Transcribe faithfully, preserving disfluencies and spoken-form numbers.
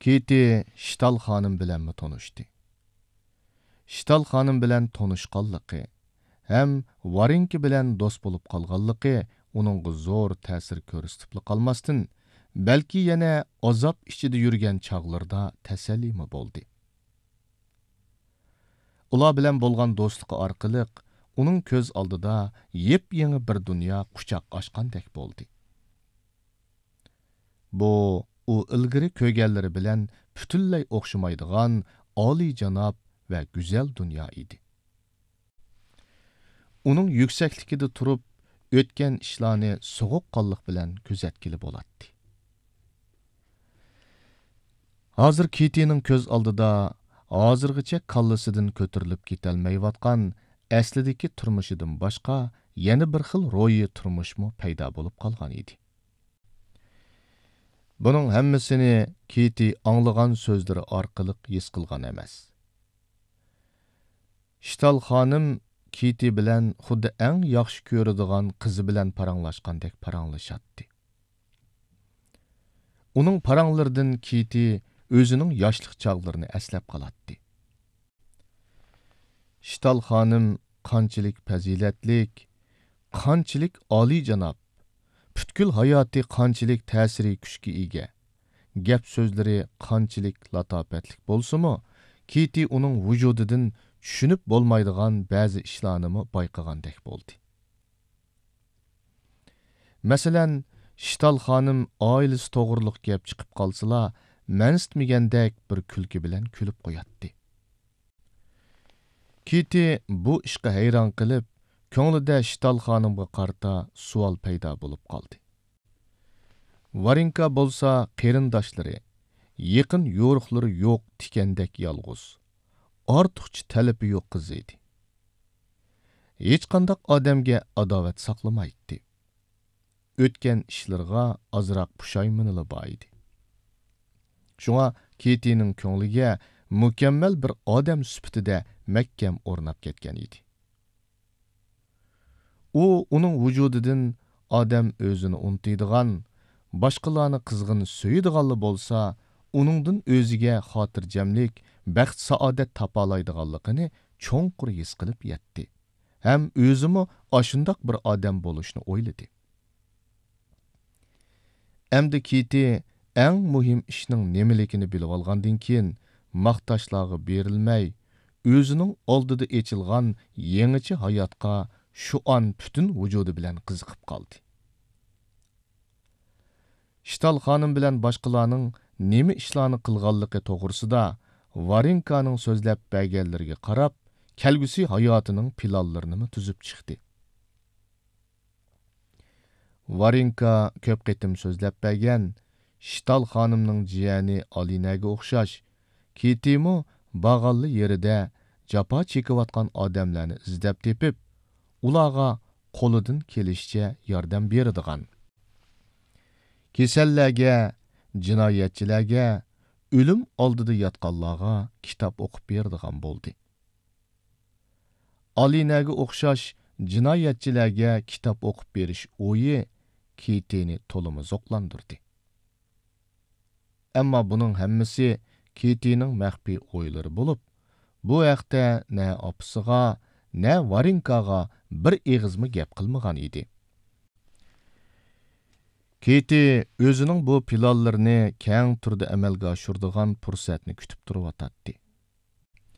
كىتى شتال خانىم بىلەنمۇ تونۇشتى. شتال خانىم بىلەن تونۇشقانلىقى ھەم ۋارېنكا بىلەن دوست بولۇپ قالغانلىقى ئۇنىڭغا زور تەسىر كۆرسىتىپلا قالماستىن، بەلكى يەنە ئازاب ئىچىدە يۈرگەن چاغلىرىدا تەسەللىمۇ بولدى. ئۇلار بىلەن بولغان دوستلۇقى ئارقىلىق ئۇنىڭ كۆز ئالدىدا يېپيېڭى بىر دۇنيا قۇچاق ئاچقاندەك بولدى. بۇ ئۇ ئىلگىرى كۆرگەنلىرى بىلەن پۈتۈنلەي ئوخشىمايدىغان ئالىيجاناب ۋە گۈزەل دۇنيا ئىدى. ئۇنىڭ يۈكسەكلىكىدە تۇرۇپ ئۆتكەن ئىشلارنى سوغۇققانلىق بىلەن كۆزەتكىلى بولاتتى. ھازىر كىتىنىڭ كۆز ئالدىدا ھازىرغىچە كاللىسىدىن كۆتۈرۈلۈپ كېتەلمەيۋاتقان ئەسلىدىكى تۇرمۇشىدىن باشقا يەنە بىر خىل روھىي تۇرمۇشمۇ پەيدا بولۇپ قالغان ئىدى. بۇنىڭ ھەممىسىنى كىتى ئاڭلىغان سۆزلىرى ئارقىلىق ھېس قىلغان ئەمەس. شتال خانىم كىتى بىلەن خۇددى ئەڭ ياخشى كۆرىدىغان قىزى بىلەن پاراڭلاشقاندەك پاراڭلىشاتتى. ئۇنىڭ پاراڭلىرىدىن كىتى ئۆزىنىڭ ياشلىق چاغلىرىنى ئەسلەپ قالاتتى. شتال خانىم قانچىلىك پەزىلەتلىك، قانچىلىك ئالىيجاناب، پۈتكۈل ھاياتى قانچىلىك تەسىرىي كۈچكە ئىگە، گەپ سۆزلىرى قانچىلىك لاتاپەتلىك بولسىمۇ، كىتى ئۇنىڭ ۋۇجۇدىدىن چۈشىنىپ بولمايدىغان بەزى ئىشلارنىمۇ بايقىغاندەك بولدى. مەسىلەن، شتال خانىم ئائىلىسى توغرۇلۇق گەپ چىقىپ قالسىلا، مەنسىتمىگەندەك بىر كۈلكە بىلەن كۈلۈپ قوياتتى. كىتى بۇ ئىشقا ھەيران قېلىپ، كۆڭلىدە شتال خانىمغا قارىتا سوئال پەيدا بولۇپ قالدى. ۋارېنكا بولسا قېرىنداشلىرى، يېقىن يورۇقلىرى يوق تىكەندەك يالغۇز، ئارتۇقچە تەلىپى يوق قىز ئىدى. ھېچقانداق ئادەمگە ئاداۋەت ساقلىمايتتى. ئۆتكەن ئىشلىرىغا ئازراق پۇشايمىنىلا بار ئىدى. شۇڭا كىتىنىڭ كۆڭلىگە مۇكەممەل بىر ئادەم سۈپىتىدە مەھكەم ئورناپ كەتكەن ئىدى. ئۇ، ئۇنىڭ ۋۇجۇدىدىن ئادەم ئۆزىنى ئۇنتۇيدىغان، باشقىلارنى قىزغىن سۆيىدىغانلا بولسا، ئۇنىڭدىن ئۆزىگە خاتىرجەملىك، بەخت-سائادەت تاپالايدىغانلىقىنى چوڭقۇر ھېس قىلىپ يەتتى ھەم ئۆزىمۇ ئاشۇنداق بىر ئادەم بولۇشنى ئويلىدى. ئەمدى كىتى ئەڭ مۇھىم ئىشنىڭ نېمىلىكىنى بىلىۋالغاندىن كېيىن، ماختاشلارغا بېرىلمەي، ئۆزىنىڭ ئالدىدا ئېچىلغان يېڭىچە ھاياتقا شۇ ئان پۈتۈن ۋۇجۇدى بىلەن قىزىقىپ قالدى. شتال خانىم بىلەن باشقىلارنىڭ نېمە ئىشلارنى قىلغانلىقى توغرىسىدا ۋارېنكانىڭ سۆزلەپ بەرگەنلىرىگە قاراپ، كەلگۈسى ھاياتىنىڭ پىلانلىرىنىمۇ تۈزۈپ چىقتى. ۋارېنكا كۆپ قېتىم سۆزلەپ بەرگەن، شتال خانىمنىڭ جىيەنى ئالىنەگە ئوخشاش، كىتىمۇ بارغانلا يېرىدە جاپا چېكىۋاتقان ئادەملەرنى ئىزدەپ تېپىپ، ئۇلارغا قولىدىن كېلىشىچە ياردەم بېرىدىغان، كېسەللەرگە، جىنايەتچىلەرگە، ئۆلۈم ئالدىدا ياتقانلارغا كىتاب ئوقۇپ بېرىدىغان بولدى. ئالىنەگە ئوخشاش جىنايەتچىلەرگە كىتاب ئوقۇپ بېرىش ئويى كىتىنى تولىمۇ زوقلاندۇردى. ئەمما بۇنىڭ ھەممىسى كىتىنىڭ مەخپىي ئويلىرى بولۇپ، بۇ ھەقتە نە ئاپىسىغا، نە ۋارېنكاغا بىر ئېغىزمۇ گەپ قىلمىغان ئىدى. كىتى ئۆزىنىڭ بۇ پىلانلىرىنى كەڭ تۈردە ئەمەلگە ئاشۇرىدىغان پۇرسەتنى كۈتۈپ تۇرۇۋاتاتتى.